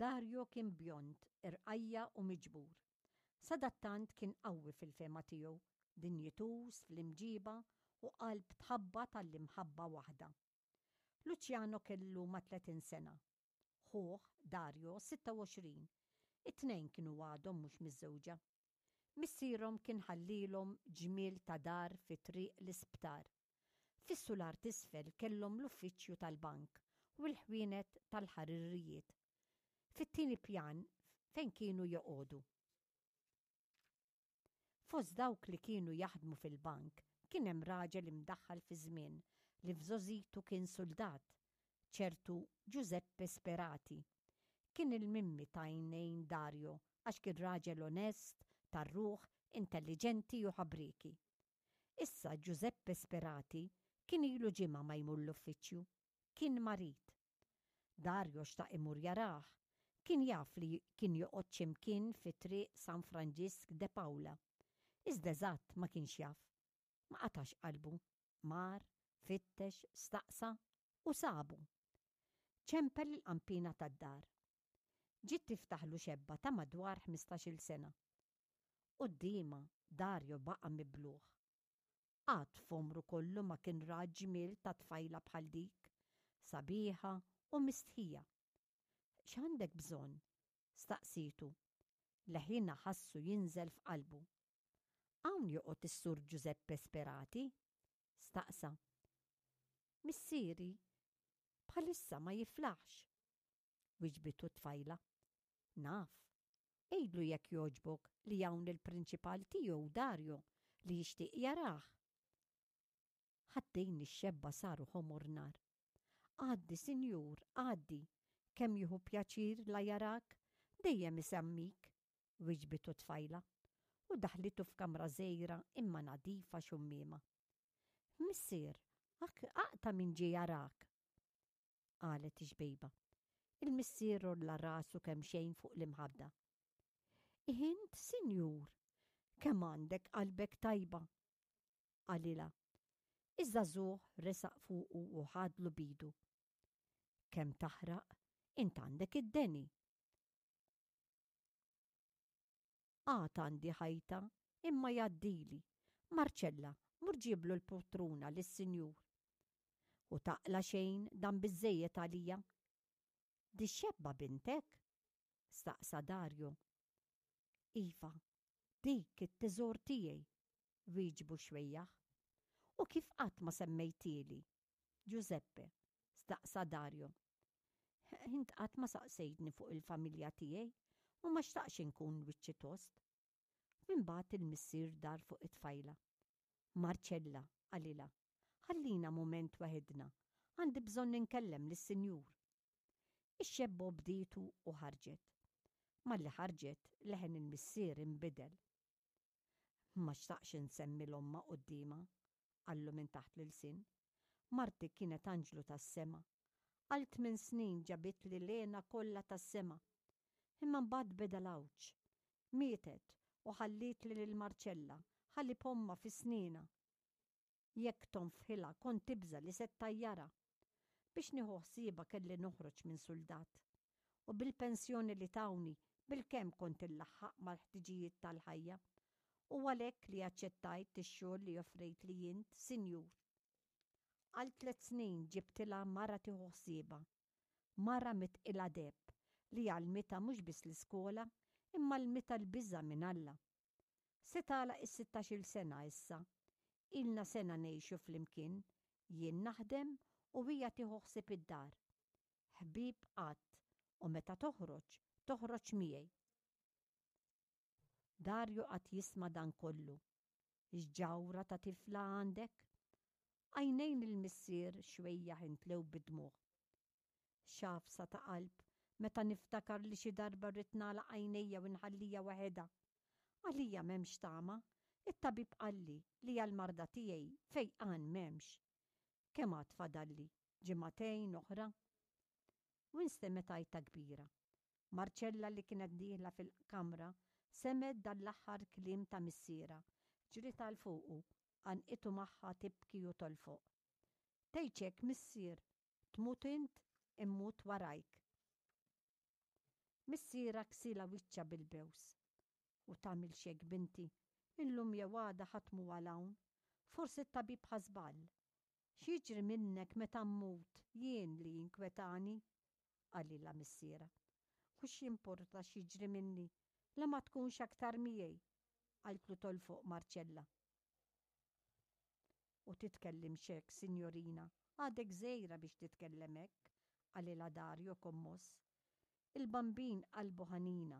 Dario kien bjond, irqajja' u miġbur. Sadattant kien qawwi fil-fehma tiegħu, dinjituż fl-imġiba u qalb tħabbat għall-imħabba waħda. Luciano kellu ma' 30 sena. Ħuh, Dario, 26. It-tnejn kienu għadhom mhux miżżewġa. Missierhom kien ħallielhom ġmiel ta' dar fi Triq l-Isptar. Fis-sular t'isfel kellhom l-uffiċċju tal-bank u l-ħwienet tal-ħaririjiet. Fit-tieni pjan fejn kienu joqogħdu. Fost dawk li kienu jaħdmu fil-bank kien hemm raġel imdaħħal fiż-żmien li f'żgħożitu kien suldat, ċertu Giuseppe Sperati. Kien il-mimmi t'għajnejn Dario għax kien raġel onest, tar-ruħ, intelliġenti u ħabrieki. Issa Giuseppe Sperati kien ilu ġimgħa ma jmur l-uffiċċju. Kien marid. Dario xtaq imur jarah. Kien jaf li kien joqgħod xi mkien fi Triq San Franġisk de Paula. Iżda eżatt ma kienx jaf. Ma qatax qalbu. Mar, fittex, staqsa u sabu. Ċempel il-qanpiena tad-dar. Ġiet tiftaħlu xebba ta' madwar ħmistax-il sena. Quddiemha, Dario baqa' mibluh. Qatt f'għomru kollu ma kien ra ġmiel ta' tfajla bħal dik, sabiħa u mistħija. X'għandek bżonn? staqsietu. Leħinha ħassu jinżel f'qalbu. Hawn joqgħod is-Sur Giuseppe Sperati? staqsa. Missieri bħalissa ma jiflaħx, wiġbitu t-tfajla. Naf. Għidlu jekk jogħġbok li hawn il-prinċipal tiegħu Dario li jixtieq jarah. Ħaddejn ix-xebba saru ħomor nar. Għaddi, sinjur, għaddi. Kemm jieħu pjaċir la jarak, dejjem isemmik, wiġbitu t-tfajla u daħlitu f'kamra żgħira imma nadifa xummiema. Missier, aqta' min ġie jarak! qalet ix-xbejba. Il-missier għolla rasu kemxejn fuq l-imħadda. Int, sinjur, kemm għandek qalbek tajba! qalilha. Iż-żagħżugħ resaq fuqu u ħadlu b'idu. Kemm taħraq, int għandek id-deni! Għad għandi ħajta, imma jgħaddili. Marċella, mur ġiblu l-putruna lis-sinjur. U taqla' xejn dan biżżejjed għalija. Dix-xebba bintek? staqsa Dario. Iva, dik it-teżor tiegħi, wieġbu xwejjaħ. U kif qatt ma semmejtieli? Giuseppe? staqsa Dario. Int qatt ma saqsejtni fuq il-familja tiegħi u ma xtaqtx inkun wiċċi tost. Imbagħad il-missier dar fuq it-tfajla. Marcella, qalilha, ħallina mument waħedna, għandi bżonn inkellem lis-sinjur. Ix-xebba obdietu u ħarġet. Malli ħarġet, leħen il-missier inbidel. Ma xtaqx insemmi 'l ommha quddiemha, qallu minn taħt l-ilsien. Marti kienet anġlu tas-sema. Għal tminn snin ġabitli l-hena kollha tas-sema. Imma mbagħad beda l-għawġ. Mietet u ħallietli lil Marcella, ħalib ommha fi snienha. Jekk tonfħilha kont tibża' li se ttajjarha. Biex nieħu ħsiebha kelli noħroġ minn suldat. U bil-pensjoni li tawni bilkemm kont illaħħaq mal-ħtiġijiet tal-ħajja. U għalhekk li aċċettajt ix-xogħol li offrejtli int, sinjur. Għal tlett snin ġibtilha mara tieħu ħsiebha. Mara mitqilha deheb li għallmitha mhux biss l-iskola imma għallmitha l-biża' minn Alla. Se tagħlaq is-sittax-il sena issa. Ilna sena ngħixu flimkien, jien naħdem u hija tieħu ħsieb id-dar. Ħbieb qatt u meta toħroġ, toħroġ miegħi. Dario qagħad jisma' dan kollu. X'ġawhra ta' tifla għandek! Għajnejn il-missier xwejjaħ imtlew bid-dmugħ. X'għafsa ta' qalb meta niftakar li xi darba rrid nagħlaq għajnejja u nħallija waħedha. Għalija m'hemmx tama, it-tabib qalli li għall-marda tiegħi fejqan m'hemmx. Kemm għad fadalli, ġimagħtejn oħra? U instemgħet għajta kbira. Marcella li kienet dieħla fil-kamra semgħet dan l-aħħar kliem ta' missierha, ġriet għal fuqu, għannqitu magħha tibki u tolfoq. Tgħidx hekk missier, Tmut int, immut warajk. Missierha ksilha wiċċha bil-bews. U tagħmilx hekk binti, illum jew għada ħadd mhu għal hawn. Forsi t-tabib ħa żball. X'jiġri minnek meta mmut jien li jinkwetani? qalilha missierha. U x'jimporta x'jiġri minni la ma tkunx aktar miegħi? qaltlu tolfoq Marcella. U titkellimx hekk, sinjorina, għadek żgħira biex titkellem hekk, qalilha Dario kommoss. Il-Bambin qalbu ħanina.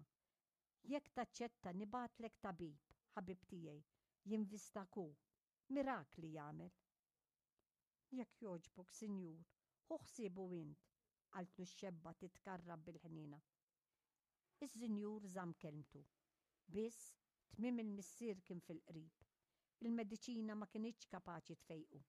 Jekk taċċetta nibgħatlek tabib, ħabib tiegħi, jinvistak hu. Mirakli jagħmel. Jekk jogħġbok, sinjur, ħu ħsiebu int, qaltlu x-xebba titkarrab bil-ħniena. Is-sinjur żamm kelmtu. Biss, tmiem il-missier kien fil-qrib. Il-mediċina ma kinitx kapaċi tfejqu.